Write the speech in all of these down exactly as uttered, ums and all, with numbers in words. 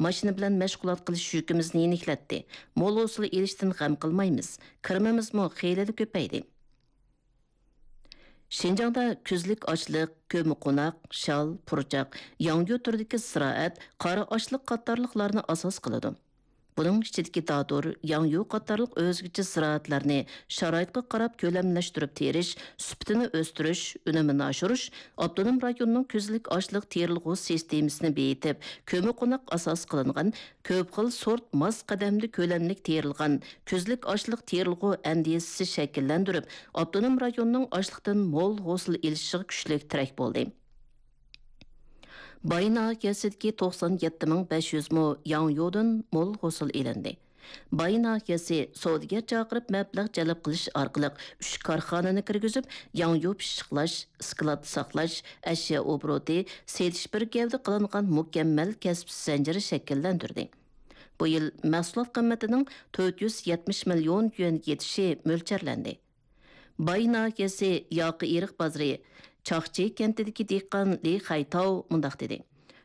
ماشىنا بىلەن مەشغۇلات قىلىش يۈكىمىزنى يېنىكلەتتى. مول ھوسۇل ئېلىشتىن غەم قىلمايمىز. كىرىمىمىزمۇ خېلىلا كۆپەيدى. شىنجاڭدا كۈزلۈك ئاشلىق، كۆممىقوناق، شال، پۇرچاق، ياڭيۇ تۈرىدىكى زىرائەت، قارا ئاشلىق قاتارلىقلارنى ئاساس قىلىدۇ. بۇنىڭ ئىچىدىكى دادۇر، ياڭيۇ قاتارلىق ئۆزگىچە زىرائەتلەرنى شارائىتقا قاراپ كۆلەملەشتۈرۈپ تېرىش، سۈپىتىنى ئۆستۈرۈش، ئۈنۈمىنى ئاشۇرۇش، ئاپتونوم رايوننىڭ كۈزلۈك ئاشلىق تېرىلغۇ سىستېمىسىنى بېيىتىپ، كۆممىقوناق ئاساس قىلىنغان كۆپ خىل سورت ماس قەدەمدە كۆلەملىك تېرىلغان كۈزلۈك ئاشلىق تېرىلغۇ ئەندىزىسى شەكىللەندۈرۈپ، ئاپتونوم رايوننىڭ ئاشلىقتىن مول ھوسۇل ئېلىشىغا كۈچلۈك تىرەك بولدى. باي ناھىيەسىدىكى توقسان يەتتە مىڭ بەش يۈز مو ياڭيۇدىن مول ھوسۇل ئېلىندى. باي ناھىيەسى سودىگەر چاقىرىپ مەبلەغ جەلپ قىلىش ئارقىلىق ئۈچ كارخانىنى كىرگۈزۈپ، ياڭيۇ پىششىقلاش، ئىسكىلات ساقلاش، ئەشيا ئوبوروتى، سېتىش بىر گەۋدە قىلىنغان مۇكەممەل كەسىپ زەنجىرى شەكىللەندۈردى. بۇ يىل مەھسۇلات قىممىتىنىڭ تۆت يۈز يەتمىش مىليون يۈەنگە يېتىشى مۆلچەرلەندى. باي ناھىيەسى ياقا ئېرىق بازىرى، چاقچى كەنتىدىكى دېھقان لى خەيتاۋ مۇنداق دېدى: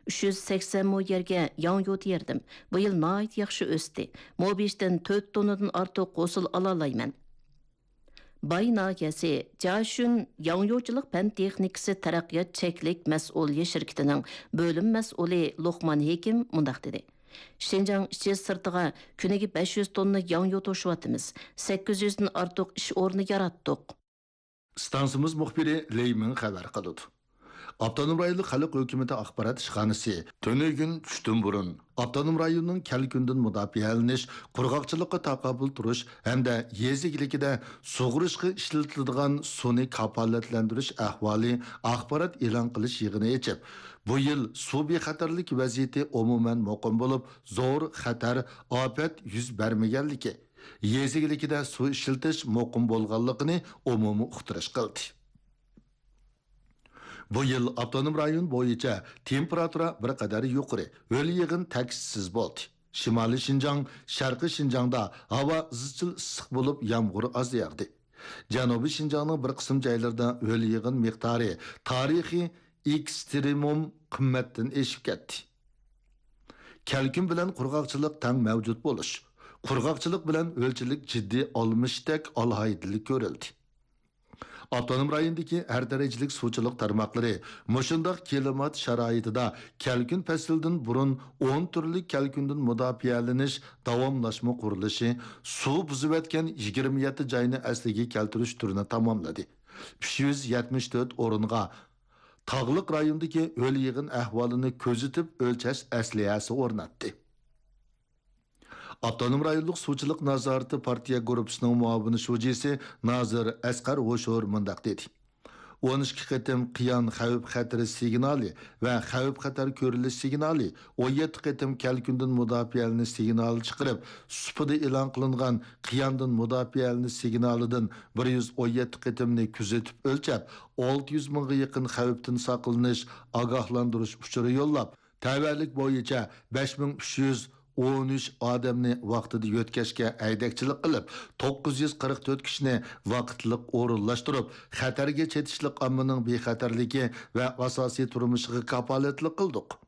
«ئۈچ يۈز سەكسەن مو يەرگە ياڭيۇ تېرىدىم. بۇ يىل ناھايىتى ياخشى ئۆستى. مو بېشىدىن تۆت توننىدىن ئارتۇق ھوسۇل ئالالايمەن.» باي ناھىيەسى جياشۈن ياڭيۇچىلىق پەن تېخنىكىسى تەرەققىيات چەكلىك مەسئۇلىيەت شىركىتىنىڭ بۆلۈم مەسئۇلى لوقمان ھېكىم مۇنداق دېدى: «شىنجاڭ ئىچى سىرتىغا كۈنىگە بەش يۈز توننا ياڭيۇ توشۇۋاتىمىز. سەككىز يۈزدىن ئارتۇق ئىش ئورنى ياراتتۇق.» ئىستانسىمىز مۇخبىرى لېي مىڭ خەۋەر قىلىدۇ. ئاپتونوم رايونلۇق خەلق ھۆكۈمىتى ئاخبارات ئىشخانىسى تۈنۈگۈن چۈشتىن بۇرۇن ئاپتونوم رايوننىڭ كەلكۈندىن مۇداپىئەلىنىش، قۇرغاقچىلىققا تاقابىل تۇرۇش ھەمدە يېزا ئىگىلىكىدە سۇغىرىشقا ئىشلىتىلىدىغان سۇنى كاپالەتلەندۈرۈش ئەھۋالى ئاخبارات ئېلان قىلىش يىغىنى ئېچىپ، بۇ يىل سۇ بىخەتەرلىكى ۋەزىيىتى ئومۇمەن مۇقىم بولۇپ، زور خەتەر، ئاپەت يۈز بەرمىگەنلىكى، يېزا ئىگىلىكىدە سۇ ئىشلىتىش مۇقىم بولغانلىقىنى ئومۇمىي ئۇقتۇرۇش قىلدى. بۇ يىل ئاپتونوم رايون بويىچە تېمپېراتۇرا بىر قەدەر يۇقىرى، ھۆل يېغىن تەكشىسىز بولدى. شىمالىي شىنجاڭ، شەرقىي شىنجاڭدا ھاۋا ئىزچىل ئىسسىق بولۇپ، يامغۇر ئاز ياغدى. جەنۇبىي شىنجاڭنىڭ بىر قىسىم جايلىرىدا ھۆل يېغىن مىقدارى تارىخىي ئېكسترېمۇم قىممەتتىن ئېشىپ كەتتى. كەلكۈن بىلەن قۇرغاقچىلىق تەڭ مەۋجۇت بولۇش، قۇرغاقچىلىق بىلەن ھۆلچىلىك جىددىي ئالمىشىشتەك ئالاھىدىلىك كۆرۈلدى. ئاپتونوم رايوندىكى ھەر دەرىجىلىك سۇچىلىق تارماقلىرى مۇشۇنداق كىلىمات شارائىتىدا كەلكۈن پەسلىدىن بۇرۇن ئون تۈرلۈك كەلكۈندىن مۇداپىئەلىنىش داۋاملاشما قۇرۇلۇشى، سۇ بۇزۇۋەتكەن يىگىرمە يەتتە جاينى ئەسلىگە كەلتۈرۈش تۈرىنى تاماملىدى. ئۈچ يۈز يەتمىش تۆت ئورۇنغا تاغلىق رايوندىكى ھۆل يېغىن ئەھۋالىنى كۆزىتىپ ئۆلچەش ئەسلىھەسى ئورناتتى. ئاپتونوم رايونلۇق سۇچىلىق نازارىتى پارتىيە گۇرۇپپىسىنىڭ مۇئاۋىن شۇجىسى نازىر ئەسقەر ھوشۇر مۇنداق دېدى: «ئون ئىككى قېتىم قىيان خەۋپ خەتىرى سىگنالى ۋە خەۋپ خەتەر كۆرۈلۈش سىگنالى، ئون يەتتە قېتىم كەلكۈندىن مۇداپىئەلىنىش سىگنالى چىقىرىپ، سۇپىدا ئېلان قىلىنغان قىياندىن مۇداپىئەلىنىش سىگنالىدىن بىر يۈز ئون يەتتە قېتىمنى كۆزىتىپ ئۆلچەپ، ئالتە يۈز مىڭغا يېقىن خەۋپتىن ساقلىنىش ئاگاھلاندۇرۇش ئۇچۇرى يوللاپ، تەۋەلىك بويىچە بەش مىڭ ئۈچ يۈز ئون ئۈچ ئادەمنى ۋاقتىدا يۆتكەشكە ھەيدەكچىلىك قىلىپ، توققۇز يۈز قىرىق تۆت كىشىنى ۋاقىتلىق ئورۇنلاشتۇرۇپ، خەتەرگە چېتىشلىق ئاممىنىڭ بىخەتەرلىكى ۋە ئاساسىي تۇرمۇشىغا كاپالەتلىك قىلدۇق.»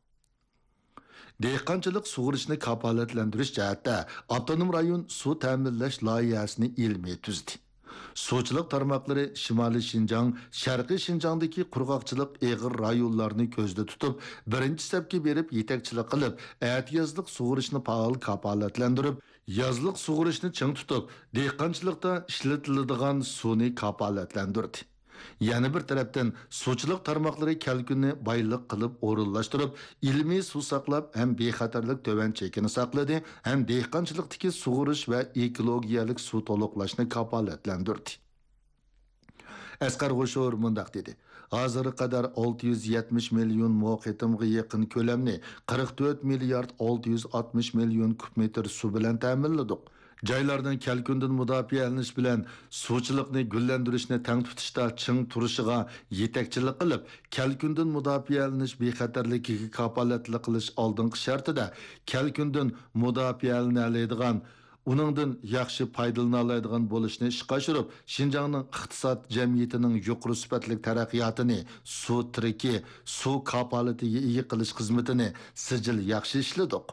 دېھقانچىلىق سۇغىرىشنى كاپالەتلەندۈرۈش جەھەتتە ئاپتونوم رايون سۇ تەمىنلەش لايىھەسىنى ئىلمىي تۈزدى. سۇچىلىق تارماقلىرى شىمالىي شىنجاڭ، شەرقىي شىنجاڭدىكى قۇرغاقچىلىق ئېغىر رايونلارنى كۆزدە تۇتۇپ، بىرىنچى سەپكە بېرىپ يېتەكچىلىك قىلىپ، ئەتىيازلىق سۇغىرىشنى پائال كاپالەتلەندۈرۈپ، يازلىق سۇغىرىشنى چىڭ تۇتۇپ، دېھقانچىلىقتا ئىشلىتىلىدىغان سۇنى كاپالەتلەندۈردى. يەنە بىر تەرەپتىن، سۇچىلىق تارماقلىرى كەلكۈننى بايلىق قىلىپ ئورۇنلاشتۇرۇپ، ئىلمىي سۇ ساقلاپ ھەم بىخەتەرلىك تۆۋەن چېكىنى ساقلىدى، ھەم دېھقانچىلىقتىكى سۇغىرىش ۋە ئېكولوگىيەلىك سۇ تولۇقلاشنى كاپالەتلەندۈردى. ئەسقەر غوشۇر مۇنداق دېدى: «ھازىرغا قەدەر ئالتە يۈز يەتمىش مىليون مو قېتىمغا يېقىن كۆلەمنى قىرىق تۆت مىليارد ئالتە يۈز ئاتمىش مىليون كۇب مېتىر سۇ بىلەن تەمىنلىدۇق. جايلارنىڭ كەلكۈندىن مۇداپىئەلىنىش بىلەن سۇچىلىقنى گۈللەندۈرۈشنى تەڭ تۇتۇشتا چىڭ تۇرۇشىغا يېتەكچىلىك قىلىپ، كەلكۈندىن مۇداپىئەلىنىش بىخەتەرلىكىگە كاپالەتلىك قىلىش ئالدىنقى شەرتىدە، كەلكۈندىن مۇداپىئەلىنەلەيدىغان، ئۇنىڭدىن ياخشى پايدىلىنالايدىغان بولۇشنى ئىشقا ئاشۇرۇپ، شىنجاڭنىڭ ئىقتىساد جەمئىيىتىنىڭ يۇقىرى سۈپەتلىك تەرەققىياتىنى، سۇ تىرىكى، سۇ كاپالىتىگە ئىگە قىلىش خىزمىتىنى سىجىل ياخشى ئىشلىدۇق.»